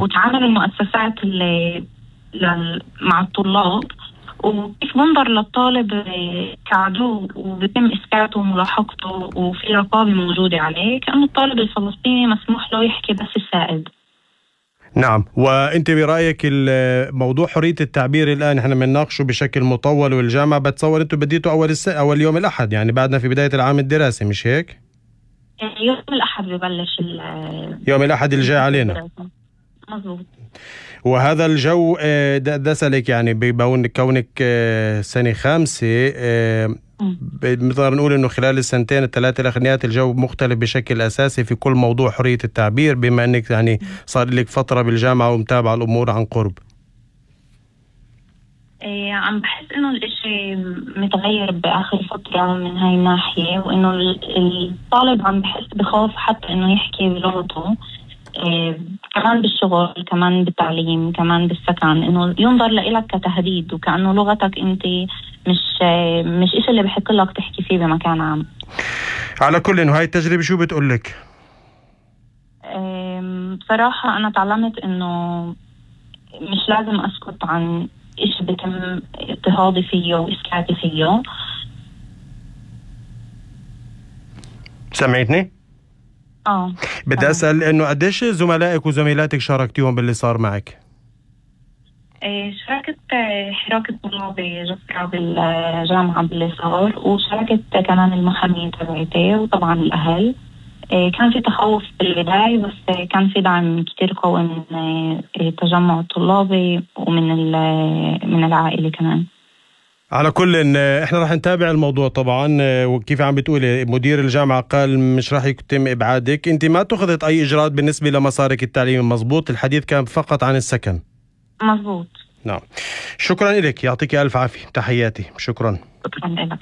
وتعامل المؤسسات اللي مع الطلاب، وكيف منظر للطالب كعدو وبيتم إسكاته وملاحقته وفي رقابة موجودة عليه، كأنه الطالب الفلسطيني مسموح له يحكي بس السائد. نعم. وانت برأيك الموضوع حرية التعبير الآن احنا بنناقشه بشكل مطول، والجامعة بتصور انتم بديتوا أول يوم الأحد، يعني بعدنا في بداية العام الدراسي، مش هيك؟ يوم الأحد ببلش يوم الأحد الجاي علينا. مظبوط. وهذا الجو دسلك يعني كونك سنة 5، بنقدر نقول انه خلال السنتين الثلاثة الاخرانيات الجو مختلف بشكل اساسي في كل موضوع حرية التعبير، بما انك يعني صار لك فترة بالجامعة ومتابعة الامور عن قرب. عم بحس انه الاشي متغير باخر فترة من هاي الناحية، وانه الطالب عم بحس بخوف حتى انه يحكي بلغته، كمان بالشغل، كمان بالتعليم، كمان بالسكن، انه ينظر لإلك كتهديد، وكأنه لغتك انت مش إشي اللي بحق لك تحكي فيه بمكان عام. على كل انه هاي التجربة شو بتقولك؟ بصراحة انا تعلمت انه مش لازم اسكت عن إشي بيتم اضطهادي فيه وإسكاتي فيه. سمعتني؟ بدي أسأل إنه قديش زملائك وزميلاتك شاركتيهم باللي صار معك؟ شاركت حراك الطلاب جسرة بالجامعة باللي صار، وشاركت كمان المحامية تبعتي وطبعا الأهل. كان في تخوف بالبداية، بس كان في دعم كتير قوي من التجمع الطلابي ومن العائلة كمان. على كل احنا راح نتابع الموضوع طبعا، وكيف عم بتقولي مدير الجامعة قال مش راح يتم إبعادك، انت ما اتخذت أي إجراءات بالنسبة لمسارك التعليمي، مزبوط؟ الحديث كان فقط عن السكن. مزبوط. نعم. شكرا لك، يعطيك ألف عافية، تحياتي. شكرا. شكرا لك.